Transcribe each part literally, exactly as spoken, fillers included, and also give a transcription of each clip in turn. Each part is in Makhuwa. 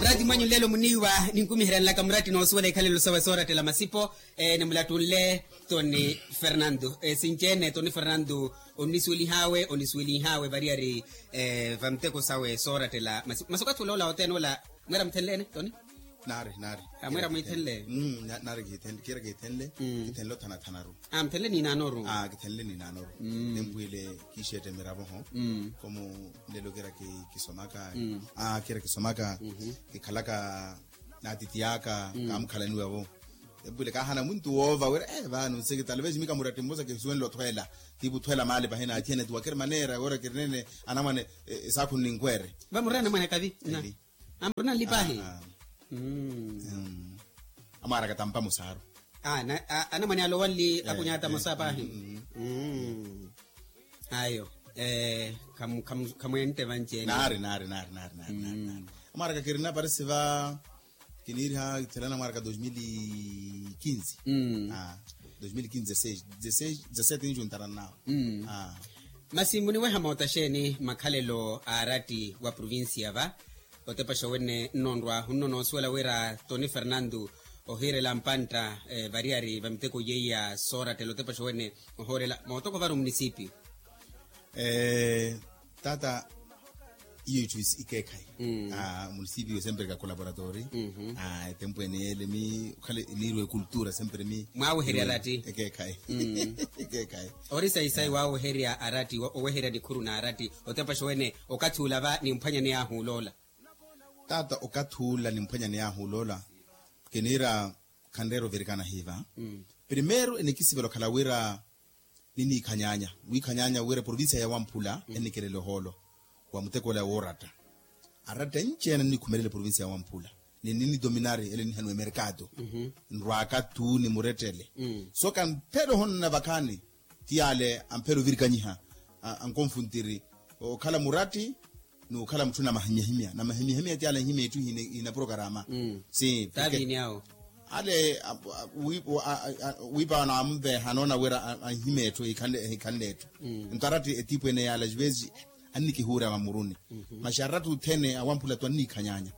Murati mwanyu nlelo muniiwa, ninkumiheryanlaka murati noosuwela ikhalelo sawe soorattela masipo. Nimulattunle toni fernandu, sinci-ene toni fernandu, onnisuwelihaawe onnisuwelihaawe variyari vanteko sawe soorattela masipo masi okathi ola ola othene ola. Mwira muthenle-ene toni? Naari naari. Mwira mwithenle? Naari kiira kiithenle. Kithenle othanathanaru. Muthenle niinaanoru. Kithenle niinaanoru. Tempu ile kiixeetta miravo-ho. Komu nlelo kiira kisomaka. Kiira kisomaka, kikhalaka n'atiti aka kaamukhalaniwa-vo. Tempu ile kaahana muntu woova wira vano nsekitale vesi mika muratti mmosa kisuwenle othweela. Tivo othweela maali pahi n'athiyana tiwakiri maneera wira kirinene. Anamwane esaakhuni ninkweere. Vamurina anamwane akavi? Amurina nlipahi. Amwaaraka tampa musaaru. Anamwane alowanli akunyaata mosa pahi. Ayo. Khamwente vanci-ene? Naari naari naari naari. Amwaaraka kirina parisi va kiniiriha kithela anamwaaraka dos mil e quinze. Dos mil e quinze dezesseis dezesseis dezesseis tinju ntarana nawe. Masi muniweha moota xeeni makhalelo a aratti wa provincia va? Otepaxa wene nnonrwa hunno noosuwela wira toni fernandu ohiirela mpantta variyari va miteko yeiya soorattela otepaxa wene ohoorela mootoko varu munisipiyu. Taata iyo itthu ikeekhayi. Munisipiyu sempre ka colaboratori. Etempu ene yeele mi okhale niirwa ekultura sempre mi mwaaweherya aratti. Ekeekhayi. Ekeekhayi. Ori sayisayi waaweherya aratti oweherya nikhuru n'aratti otepaxa wene okathi ula va nimphwanyaney'ahu oloola. Taata okathi ula nimphwanyaney'ahu oloola kiniira khanreera ovirikana hiiva. Primeiro enikisivela okhala wira niniikhanyaanya wiikhanyaanya wira eprovincia ya wamphula ennikireela ohoolo wa muteko ola wooratta. Aratta enci-ene annikhumelela eprovincia ya wamphula ni ninitominari ele nihaniwa emerkado. Nrwaaka tu nimurettele so kamphela ohonona vakhaani ti yaale amphela ovirikanyiha ankonfuntiri okhala muratti n'ukhala mutthu na mahimyahimya na mahimyahimya ti yaale anhimya etthu ihina porokarama. Si ale wiipa naamumveha anoona wira anhimya etthu ehikhanle etthu. Nto aratti etiipu ene yaale ajuvezi annikihuura mamuruni. Masi aratti othene awamphula tu anniikhanyaanya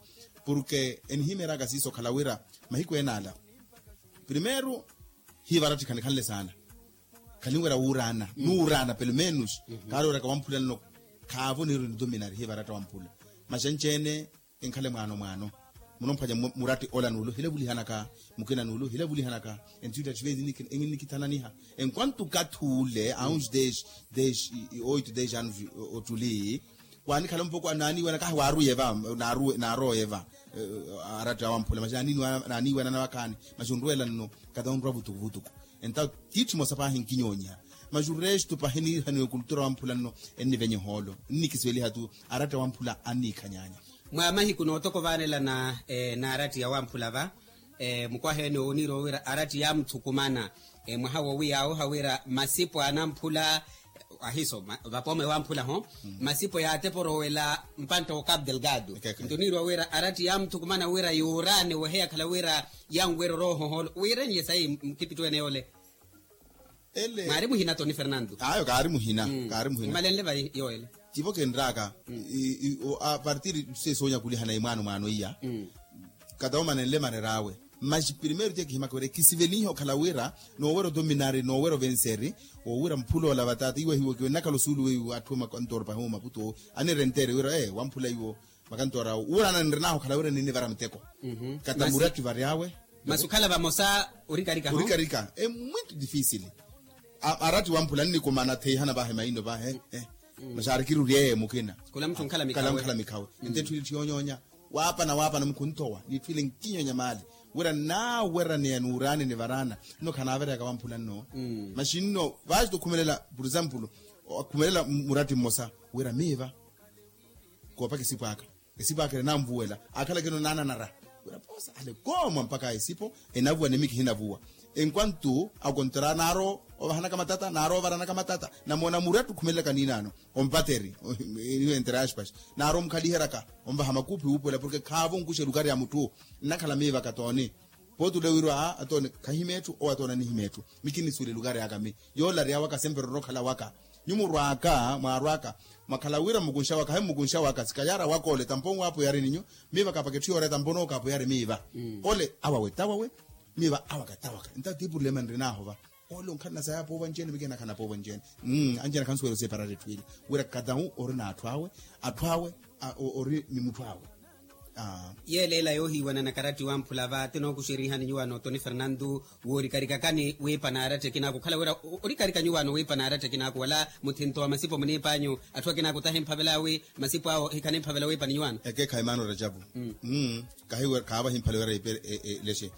porke enihimeeraka siiso okhala wira mahiku ene ala primeiro hiiva aratti khanikhanle saana. Khalinwerya wuuraana nuuraana pelo menos. Kaari weraka wamphula nno khaavo niiri nitominari hiiva aratta wamphula. Masi anci-ene enkhale mwaano mwaano munomphwanya muratti ola n'ule hilavulihanaka mukina n'ule hilavulihanaka. Enthu itthu atthu vezi ennikithananiha enquanto okathi ule a uns dez dez oito dez anos ottuli. Wanikhala mpoko naaniiwena kahi waaruye va naaroye va. Aratta wamphula masi naaniiwena na vakhaani masi onruwela nno kata onrwa vutuku vutuku. Enta tiitthu emosa paahi nkinyoonyiha masi oresto paahi niihaniwa ekultura wamphula nno ennivenya ehoolo nnikisiveliha tu. Aratta wamphula anniikhanyaanya. Mwa mahiku nootoko vaanelana n'aratti ya wamphula va mukwaha ene owo oniiriwa wira aratti yaamuthukumana mwaha wowi yaawoha wira masipo a anamphula ahiiso vapooma ewamphula ho masipo yaateporowela mpantta wa capu delgado. Nto oniiriwa wira aratti yaamuthukumana wira yuuraane wehe yakhala wira yanwerya orooho ohoolo wiirenlye sayi mukipittu ene yoole. Mwaari muhina toni fernandu? Ayo kaari muhina. Kaari muhina imalenle vai yoole. Tivo kinraaka apartir sesoonya kulihana imwaano mwaano iya. Kata omanenle mareer'awe masi primeiro tiye kihimaka wira ekisivelihe okhala wira noowerya otominari noowerya ovenseri. Wowira mphula ola vataata iwo ahiwokiwe nnakhala osuulu weiwo atthu makantooro pahi omaputu owo anirenteere wira wamphula iwo makantooro awo wuurana nrin'ahu okhala wira ninnivara muteko. Kata muratti varyawe. Masi okhala vamosa orikarika ho? Orikarika e muito difícil. Aratti wamphula annikumana theihana vahe maino vahe masi arikiri oryeye mukina. Khula mutthu onkhala mikhawe. Ente etthu ili tthiyonyoonya waapana waapana mukhuntowa n'itthu ile nkinyonya maali wira naaweraniya n'uraani nivaraana. Nno khanaaveryaka wamphula nno masi nno vaasi okhumelela por example akhumelela muratti mmosa wira miiva koopaka esipo aka esipo aka ene naanvuwela akhalakeno naananara. Wira poosa ale koomwa mpakha esipo enavuwa ni miki hinavuwa. Enquanto akontera naaro ovahanaka matata naaro ovaranaka matata namoona muratti okhumelelaka niinaano ompateri niwentere aspas naaro omkhaliheraka onvaha makuuphi wuupuwela porke khaavo onkuxa elukari ya mutthu nnakhala miivaka tooni. Pooti ole wiiriwa aa atoone khahima etthu owo atoone anihima etthu. Mi kinnisuwela elukari aka mi yoola ari awaka sempre orokhala waka. Nyu murwaka mwarwaka, mwakhala wira mmukunxa waka he mmukunxa waka sikayara waka ole tampo nwaapo yari ninyu. Miiva kapaketthiya ore tampo nokaapo yari miiva. Ole awawe tawawe. Miiva awaka tawaka nta ti purulema nrinaahova. Ole onkhalana saya poova ncene mikeena khana poova ncene. Anjena khansuwela oseparata etthu ila wira kadawu ori n'atthu awe. Atthu awe ori ni mutthu awe. Yeeleela yoohiiwana na karatti wamphula va ti nookuxerihani nyuwaano toni fernandu. Woorikarikakani wiipa n'aratta ekinaaku okhala wira orikarika nyuwaano wiipa n'aratta ekinaaku wala muthinto wa masipo muniipanyu. Atthu akinaaku tahimphavela wi masipo awo hikhanimphavela wiipa ni nyuwaano. Ekeekhayi maano rajapu. Kahiwe khaava himphale wira ipe lexe.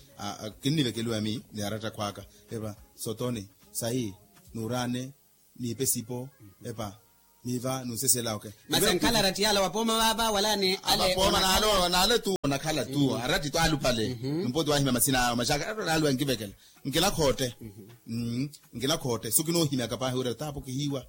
Kinnivekeliwa mi ni aratta akhw'aka. Epa sotoni sayi nuuraane. Niipe sipo epa. Niiva nunsesela oke. Masi ankhala aratta yala wapooma vaava wala ni ale. Apapooma naale tu onakhala tu aratti tu aluphale. Nimpoti wahimya masina awo maxaka aratta naale wankivekela. Nkilakhotte. Nkilakhotte sukinoohimyaka paahi wira taapo kihiiwa.